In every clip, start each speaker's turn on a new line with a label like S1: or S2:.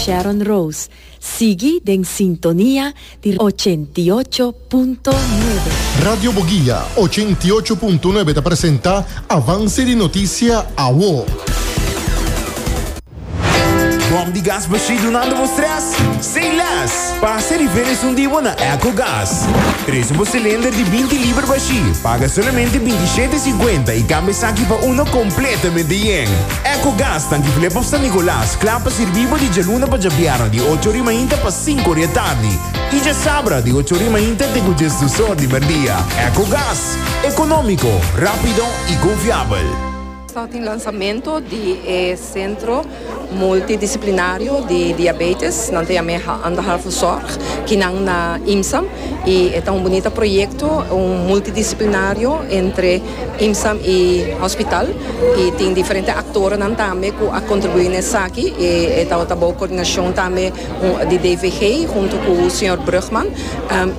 S1: Sharon Rose. Sigui den sintonia di 88.9.
S2: Radio Boguia 88.9 ta presenta Avance di Noticia Awo.
S3: Bom di gas bashí dunando bo stress? Say less! Pasa riba esun di bo na Ecogas. Trese bo cilinder di 20 liber bashí, paga solamente 27,50 y cambia esaki pa uno completamente yen. Ecogas tanki Flip of San Nicolas, kla pa sirbi bo di djaluna pa djabièrnè di ocho ori mainta pa sinku ori e tardi y djasabra di ocho ori mainta te ku djesdus or di merdia. Ecogas, economico, rapido y confiabel.
S4: Tabatin lansamento di e Sentro Multidisciplinario di Diabetes, nan ta yam'é Anderhalve Zorg, kinan na IMSAM y e ta un bunita proyecto, un multidisciplinario entre IMSAM y hospital y tin diferente actornan tambe cu a contribui na esaki y e tabata bou coordinacion tambe di DVG hunto cu señor Brugman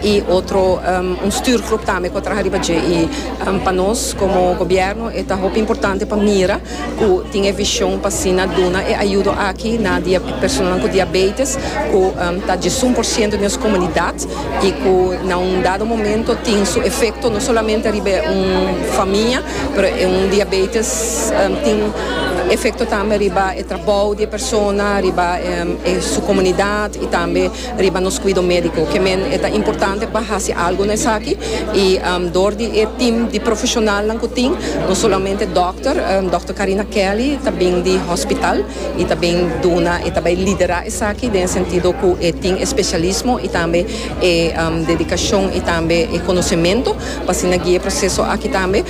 S4: y otro un stuurgroep tambe cu a traha riba dje y pa nos como gobierno e ta hopi importante pa mira cu tin e vision pa asina duna e ayudo aki na personanan cu diabetes cu ta diesun por ciento di nos comunidad y cu na un dado momento tin su efecto no solamente riba un famia pero e un diabetes tin efecto tambe riba e trabou di e persona, riba su comunidad y tambe riba nos cuido medico. Ke men e ta importante pa haci algo na esaki y door di e team di profesionalnan cu tin, no solamente dokter, dokter Karina Kelly ta bin di hospital y ta bin duna y ta bay lidera esaki den e sentido cu e tin e specialismo y tambe e dedicacion y tambe e conocemento pa asina guia e proceso aki tambe.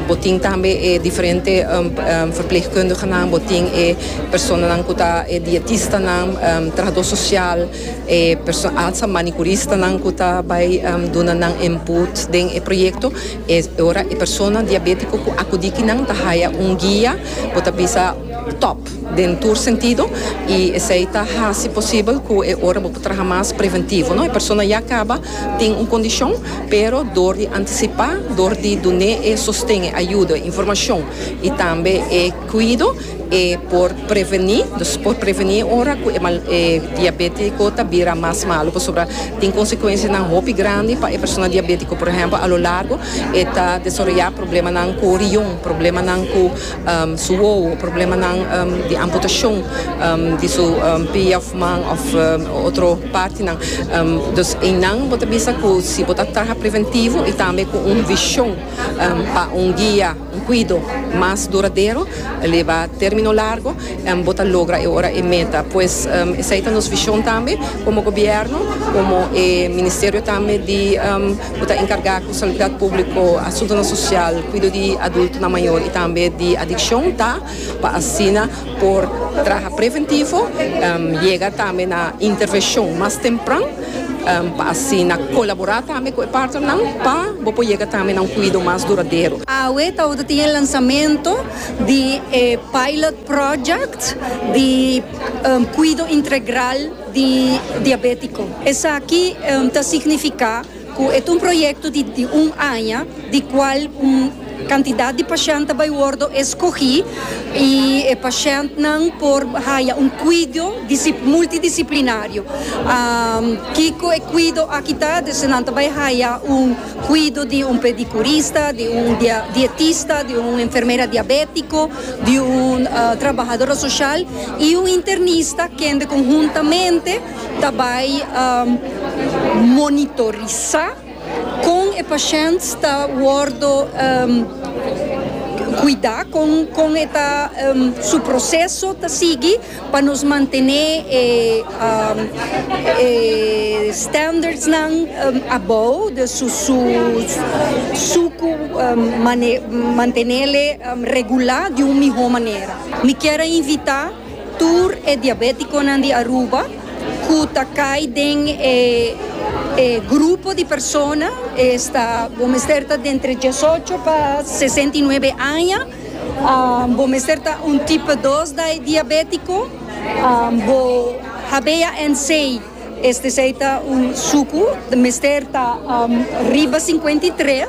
S4: Bo tin tambe e diferente verpleegkundigenan, bo tin e personanan cu ta e dietistanan, trahador social, e alsa manicuristanan cu ta bay duna nan input den e proyecto. E ora e persona diabetico cu acudi kinan ta haya un guia, bo ta bisa top den tur sentido y esey ta haci posibel cu e ora bo por traha mas preventivo, no. E persona ya caba tin un condicion, pero door di anticipa, door di dun'é e sosten, e ayudo, e informacion y tambe e cuido, e por prevení, dus por prevení ora cu e mal e diabetico ta bira mas malo, pasobra tin consecuencianan hopi grandi pa e persona diabetico, por ehempel a lo largo e ta desaroya problemanan cu rion, problemanan cu su wowo, problemanan di amputacion di su pia of man of otro partinan. Dus eynan bo ta bisa cu si bo ta traha preventivo y tambe cu un vision pa un guia, un cuido mas duradero, leba termino largo, bo ta logra e ora e meta. Pues esey ta nos vision tambe como gobierno, como e ministerio tambe di cu ta encarga cu salubridad publico, asuntonan social, cuido di adultonan mayor y tambe di adiccion ta pa asina por traha preventivo, yega tambe na intervencion mas tempran pa asina colabora tambe cu e partnernan pa bo por yega tambe na un cuido mas duradero.
S5: Awe tabata tin e lansamento di e pilot project di cuido integral di diabetico. Esaki ta significa cu e ta un proyecto di di un aña di cual un cantidad di pashent ta bay wordo escogi y e pashentnan por haya un cuido multidisciplinario. Kico e cuido aki ta? Dus nan ta bay haya un cuido di un pedicurista, di un dietista, di un enfermera diabetico, di un trabahadora social y un internista kende conhuntamente ta bai monitorisa con e pashent ta wordo cuida, con con e ta su proceso ta sigui pa nos mantene e e standardsnan abou, dus su su sucu mantenele regula di un miho manera. Mi kier a invita. Tur e diabeticonan di Aruba cu ta cay den e e grupo di persona esta bo mester ta dentre diesocho pa 69 aña, bo mester ta un tipo dos diabetico, bo HbA1c este esey ta un sucu mester ta riba 53.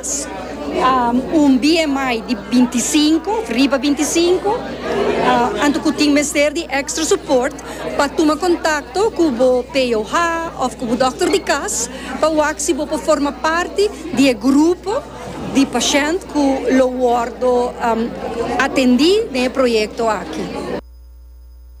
S5: Un BMI di 25 of riba 25, anto ku tin mester di extra support pa tuma kontakto ku bo POH of ku bo dòkter di kas pa wak si bo por forma parti di e grupo di pashènt ku lo wòrdu atendí den e proyekto aki.